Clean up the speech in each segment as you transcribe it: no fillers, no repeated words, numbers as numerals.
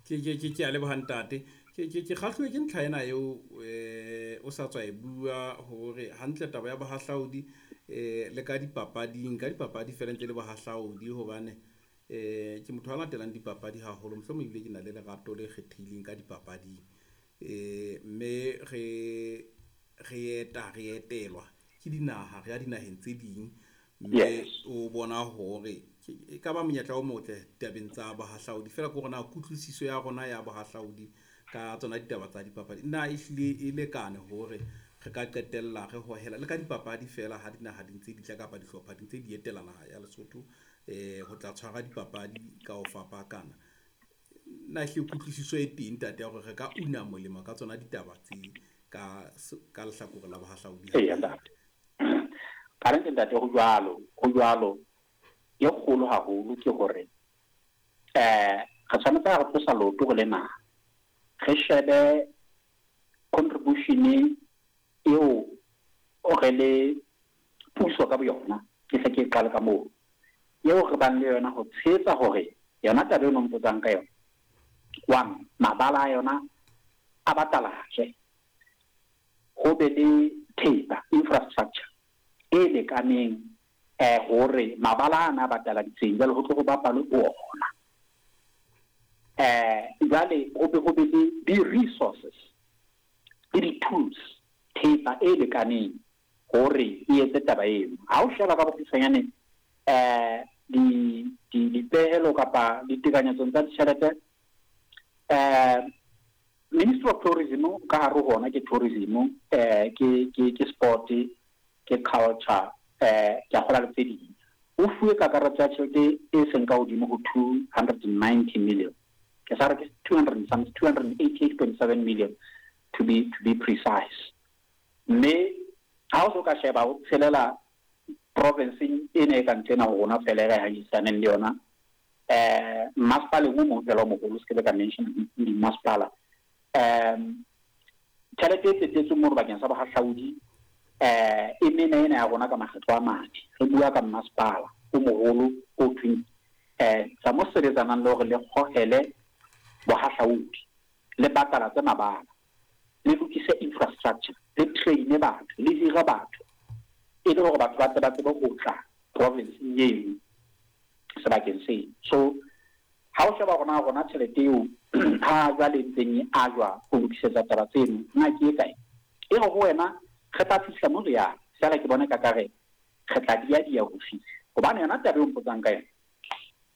Ke a leboha ntate. Ke kgahluwe ke ntlha ena eo o sa tswa e bua hore hantle taba ya bohahlaudi le ka dipapading, ka dipapadi feela ntse le bohahlaudi hobane ke motho a latelang dipapadi haholo, mohlomong ebile ke na le lerato le kgethehileng ka dipapading. Mme re eta re etelwa ke dinaha, re ya dinaheng tse ding mme o bona hore e ka ba monyetla o motle tabeng tsa bohahlaudi. Feela ke hore na kutlwisiso ya rona ya bohahlaudi ka tsona ditaba tsa dipapadi na ehlile e lekane hore re ka qetella re hohela le ka dipapadi feela ha dinaha di ntse di tla kapa dihlopha di ntse di etela naha ya Lesotho ho tla tshwara dipapadi ka ho fapakana. Na ehlile kutlwisiso e teng ntate ya hore re ka una molemo ka tsona ditaba tse ka ka lehlakore la bohahlaudi? Eya ntate, kannete ntate, ho jwalo, ho jwalo. E kgolo haholo ke hore re tshwanetse ha re tlosa leoto re le naha, re shebe contribution eo re le puso ka boyona, ke hle ke qale ka moo, eo re bang le yona ho tshehetsa hore yona taba eno mpotsang ka yona, one, mabala a yona a batalatswe, ho be le thepa, infrastructure e lekaneng hore mabala ana a bataladitseng jwale ho tlo ho bapalwe ho ona. Jwale ho be le di-resources le di-tools, thepa e lekaneng hore e etse taba eno. Ha o sheba ka bokgutshwanyane di di dipehelo kapa ditekanyetsong tsa ditjhelete, Ministry of Tourism ka hare ho ona ke tourism, ke sport, ke culture, ke a kgola le tse ding, o fuwe kakaretso ya tjhelete e seng ka hodimo ho 290 million, ke sa re ke 200 and some, 288.7 million to be precise. Mme ha o so ka sheba o tshelela provinceng ena e ka ntlena ho rona fela e re hahisaneng le yona, masepaleng o mong fela o moholo, se ke be ka mention dimasepala, tjhelete e tsetetsweng mono bakeng sa bohahlaudi e mena ena ya rona ka makgetlo a mane. Re bua ka mmasepala o moholo o thweng tsa mo sebetsanang le hore le kgohele bohahlaudi, le batalatse mabala, le lokise infrastructure, le traine batho, le hire batho, e le hore batho ba tle ba tsebe ho tla provinceng eno, sebakeng seo. So ha o sheba rona tjhelete eo ha jwale ntseng e ajwa ho lokisetsa taba tseno na ke e kae, e re ho wena re tla fihla mo re yang fela. Ke bona ka kare re tla dia ho fihla, hobane yona taba eo mpotsang ka yona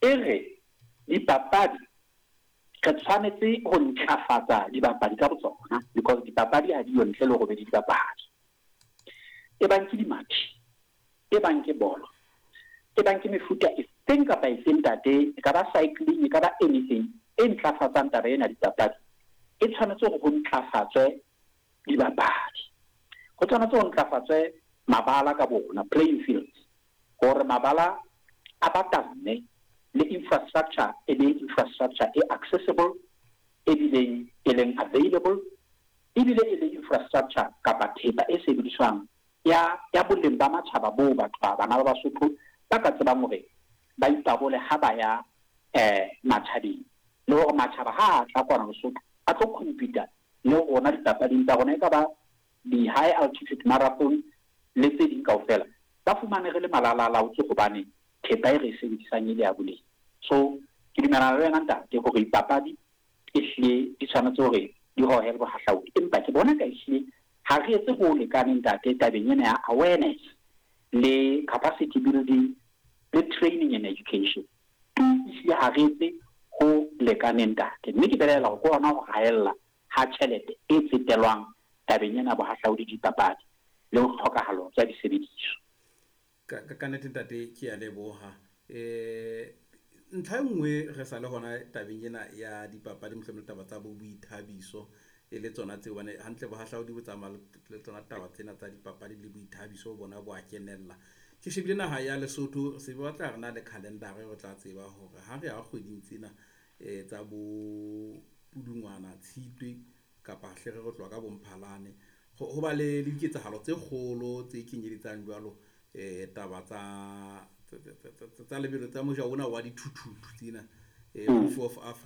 e re dipapadi re tshwanetse ho ntlafatsa dibapadi ka botsona, because dipapadi ha di yo ntle le hore be di dibapadi, e bang ke dimathi, e bang ke bolo, e bang ke mefuta efeng kapa efeng ntate, e ka ba cycling, e ka ba anything e ntlafatsang taba ena dipapadi, e tshwanetse hore ho ntlafatswe dibapadi, ho tshwanetse ho ntlafatswe mabala ka bona, playing fields, hore mabala a batamme, le infrastructure e be infrastructure e accessible, e bileng e leng available, ebile e le infrastructure kapa thepa e sebediswang ya boleng ba matjhaba boo batho ba bana ba Basotho ba ka tsebang hore ba ipabole ha ba ya matjhabeng, le hore matjhaba ha a tla kwana Lesotho a tlo compete le rona dipapading tsa rona, e ka ba di-high altitude marathon le tse ding kaofela, ba fumane re le malalalaotswe hobane thepa e re e sebedisang e le ya boleng. So ke dumellana le wena ntate hore dipapadi ehlile di tshwanetse hore di hohele bohahlaudi, empa ke bona ka ehlile ha re etse ho lekaneng ntate tabeng ena ya awareness le capacity building le training and education. Ehlile ha re etse ho lekaneng ntate, mme ke belaela hore ke hona ho haella ha tjhelete e tsetelwang tabeng ena bohahlaudi, dipapadi le ho tlhokahalo tsa disebediswa. Ka nnete ntate, ke a leboha. Ntlha e nngwe re sa le hona tabeng ena ya dipapadi, mohlomong le taba tsa bo boithabiso e le tsona tseo, hobane hantle bohahlaudi bo tsamaya le tsona taba tsena tsa dipapadi le boithabiso, bona bo a kenella. Ke shebile naha ya Lesotho se batla re na le calendar, re tla tseba hore ha re ya kgweding tsena tsa bo Pudungwana, Tshitwe, kapa hle re tloha ka bo Mphalane, ho ba le diketsahalo tse kgolo tse kenyeletsang jwalo taba tsa lebelo tsa moja ona wa dithuthuthu tsena, Proof of Africa.